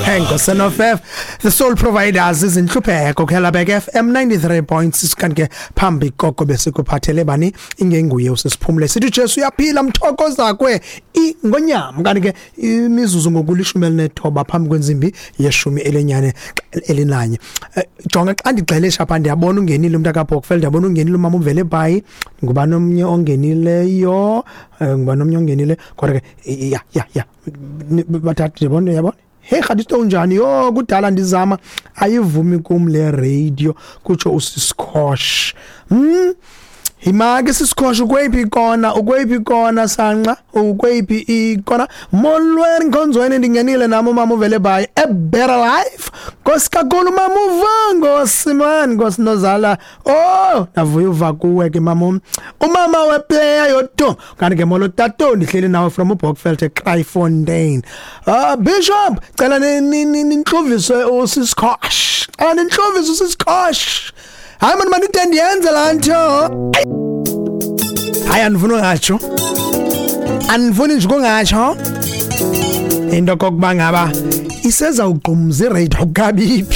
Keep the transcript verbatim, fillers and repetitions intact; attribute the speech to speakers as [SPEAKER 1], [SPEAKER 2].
[SPEAKER 1] Enkosi The Soul Providers, izintlupheko khelabek F M ninety-three point six. Kanti ke phambi koko besikuphathele bani ingenguye usisiphumle, sithi Jesu uyaphila, mthokozakwe ingonyama. Kanti ke imizuzu ngokulishumi elinethoba phambi kwentsimbi yeshumi elenyane elinanye. Eh, jonga xa ndigxelesha apha, ndiyabona ungenile umntu akaBokfeld, ndiyabona ungenile umama uvele bhayi. Ngubani omnye ongenileyo? Eh, ngubani omnye ongenile? Kodwa ke ya ya ya bathathu ndiyabona, yabona. Hey Khadisto, unjani? Yo, kudala ndizama, ayivumi kum le radio, kutsho uSiskosh. hmm Himake Siskosh, ukweyiphi ikona? Ukweyiphi ikona sanqa? Ukweyiphi ikona? Molweni nkonzweni, ndingenile nami. Umama uvele bhayi, a better life. Nkosi kakhulu mama uvango simani, nkosi nozala. Oh, navuya uva kuwe ke mama. Umama weplayer yoto. Kanti ke molo tato, ndihleli nawe from uBokveld eKraaifontein. Ah, Bishop, cela ninhluvise uSiskosh. Cela ninhluvise uSiskosh. Hayi man, manide ndiyenze laa nto. Hayi, andifuni ungatsho, andifuni nje ukungatsho into kokuba ngaba isezawugqumza iradio kabiphi.